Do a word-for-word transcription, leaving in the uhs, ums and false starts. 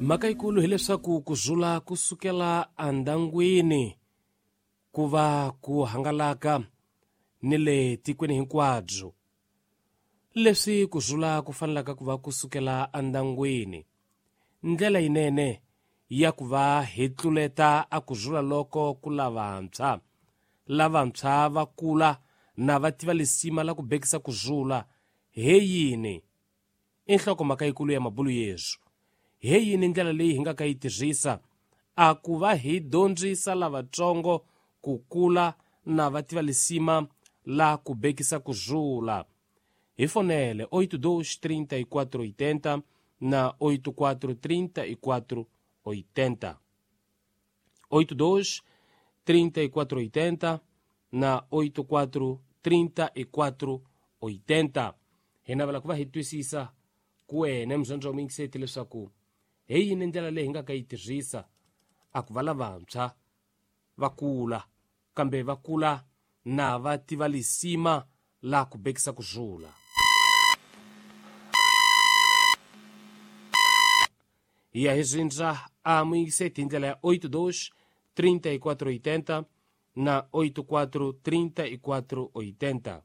Mhaka yikulu hileswaku ku zula ku sukela endyangwini ku va ku hangalaka ni le tikweni hinkwabyo. Leswi ku zula ku fanelaka ku va ku sukela endyangwini, ndlela yinene ya ku va hi tluleta a ku zula loko ku lavantshwa. Lavantshwa va kula na va tiva lisima la ku bekisa ku zula he yini? I nhlokomhaka yikulu ya mabulu yesu. He yini ndlela leyi hi nga ka yi tirhisa a ku va hi dyondzisa lavatsongo ku kula na va tiva lisima la ku bekisa ku zula? Hi fonele oito dois trinta e quatro oitenta na oito quatro trinta e quatro oitenta. oito dois trinta e quatro oitenta na oito quatro trinta e quatro oitenta. Hi navela ku va hi twisisa ku wena muzandzi wa muyingiseti leswaku hi yini ndlela leyi hi nga ka yi tirhisa a ku va lavantshwa va kula, kambe va kula na va tiva lisima la ku bekisa ku zula. Hi ya hi rindza a muyingiseti hi ndlela ya oito dois trinta e quatro oitenta na oito quatro trinta e quatro oitenta.